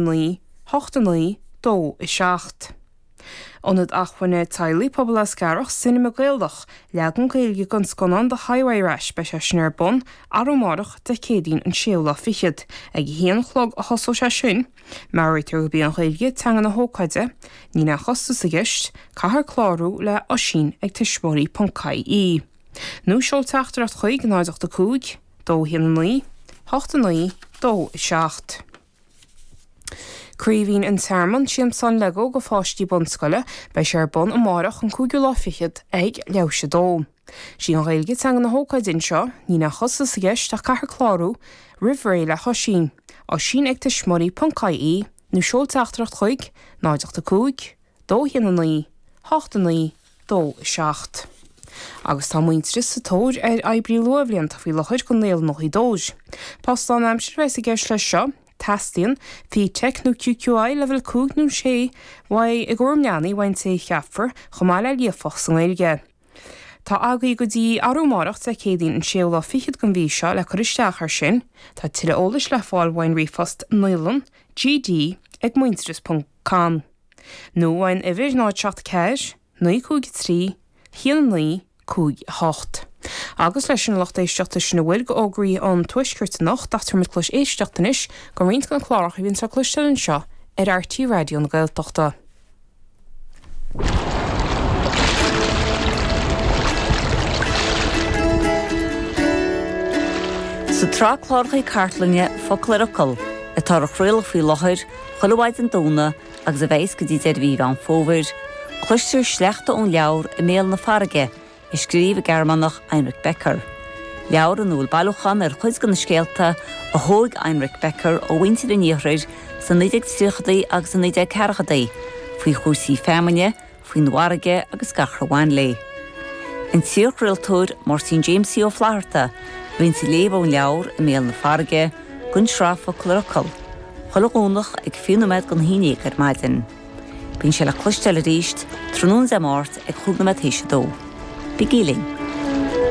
9, 8 9, 2 7. Ionad Acmhainne Teaghlaigh Pobal Eascarrach, Cinema Gaelach, leagan Gaeilge den scannán The Highway Rat, beidh sé sin ar bun arú amárach, Dé Céadaoin an séú lá fichead. Ag a haon a chlog a thosóidh sé sin. Meabhraítear gurb í an Ghaeilge teanga na hócáide. Níl aon chostas i gceist, caithfear clárú le Oisín ag tuismitheoirí ponc ie. Nó seol teachtaireacht chuig 0 8 5, 2 1 9, 8 9, 2 7. Craoibhín an Tearmainn, Siamsán Lego go pháistí bunscoile, beidh sé ar bun amárach an cúigiú lá fichead ag leathuair théis a dó. Sí an Ghaeilge teanga na hócáide anseo, níl aon chostas i gceist ach caithfear clárú roimh ré le hOisín, Oisín ag tuismitheoirí ponc ie nó seol teachtaireacht chuig 0 8 5 2 1 9 8 9 2 7. Agus tá Muintearas sa tóir ar oibrí luathbhlianta faoi láthair go Naíolann Ghaoth Dobhair. Post lánaimseartha a bheas i gceist leis seo. Teastaíonn FETAC nó QQI leibhéal 5 nó 6 uaidh i gcúram leanaí uaidh an té a cheapfar, chomh maith le líofacht sa nGaeilge. Tá agaibh go dtí arú amárach Dé Céadaoin an séú lá fichead den mhí seo le cur isteach air sin. Tá tuilleadh eolais le fáil uaidh an ríomhphost naíolann gd ag muintearas ponc com. Nó uaidh an uimhir 0 7 4 9 5 3 1 9 5 8. Agus leis sin a lucht éisteachta sin a bhfuil go fhógraí an Tuaiscirt anocht ach tabharfaimid cluas éisteachta anois go roinnt de na cláracha a bhíonns le cloisteáil anseo ar RTÉ Raidió na Gaeltachta. Sa tsraith cláracha cartlainne Focal ar Fhocal, atá ar craoladh faoi láthair chuile mhaidin Domhnaigh agus a bheas go dtí deireadh mhí Mheán Fómhair, cloistear sleachta ón leabhar I mBéal na Farraige a scríobh an Gearmánach Heinrich Becker. Leabhar ina bhfuil bailiúchán ar chuid de na scéalta a thóg Heinrich Becker ó mhuintir an iarthair sna 1930idí agus sna 1940idí faoi chúrsaí feamainne, faoin bhfarraige agus gach ar bhain léi. An t-iarchraoltóir Máirtín Jaimsie Ó Flatharta a bhíonns ag léamh ón leabhar I mBéal na Farraige don tsraith Focal ar Fhocal, chuile Dhomhnach ag 20 nóiméad don 11 ar maidin. Bíonn sé le cloisteáil arís tráthnóna Dé Máirt ag chúig nóiméad théis a dó. Bígí linn!